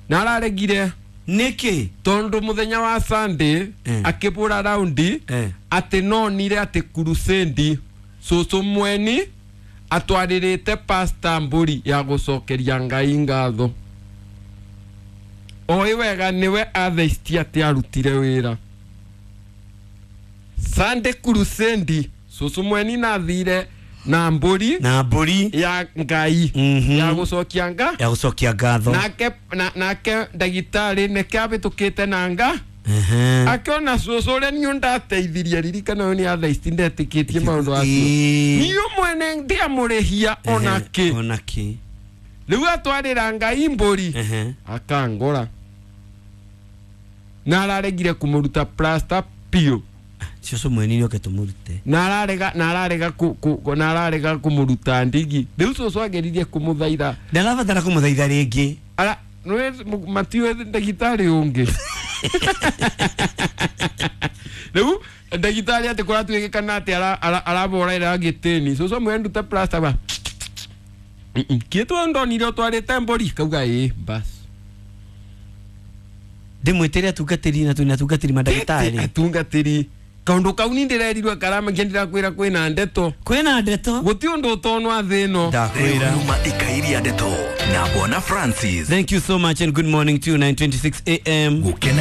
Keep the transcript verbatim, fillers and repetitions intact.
Na araregire. Nĩkĩ? Tondu muthenya wa Sunday Eh. akibura raundi Eh. ati nonire ati crusade cucu mweni atwaririte pastor mburi ya gucokeria Ngai ngatho. Oĩ wega niwe atheist ati arutire wira Sunday crusade. Cucu mweni nathire na mburi na mbũri ya Ngai Mhm. ya gucokia nga ya gũcokia ngatho. Nake na, nake ndagitari neke abĩtũkĩte na nga Ehe. akiona cũcũ ũrĩa niũ ndateithirie. Ririkana ũyũ nĩ atheisti, ndetĩkĩtie maũndũ acio. Ĩĩ. Niũ mwene ndiamũrĩhia ona kĩ. Ona kĩ. Rĩu atwarĩra Ngai mbũri Ehe. akangora na araregire kũmũruta plasta piũ. Cũcũ mweni nĩoke tũmũrute. Na ararega na ararega ku, ku, na ararega kũmũruta ndigi. Rĩu cũcũ ageririe kũmũthaitha. Ndarabatara kũmũthaitha rĩngĩ. Ara nĩ matiwe ndagĩtarĩ ũngĩ. Rĩu ndagĩtarĩ atĩ kũratuĩkana atĩ araboraira gĩtĩni, cũcũ amwĩra ndute plasta ba kĩtwo ndonire ũtwarĩte mbũri kauga ĩ bas. Ndĩmwĩtĩre atungatĩri na twĩna atungatĩri mandagĩtarĩ. Atungatĩri kaũndũ kau ni ndĩrerirwe karamakia ndĩrakwĩra kwĩna ndeto. Kwĩna ndeto. Gũti ũndũ ũtonwa thĩ ĩno. Ndakwĩra. Nyuma ikairia ndeto na Bwana Francis. Thank you so much and good morning to you. nine twenty-six a m. Gukena.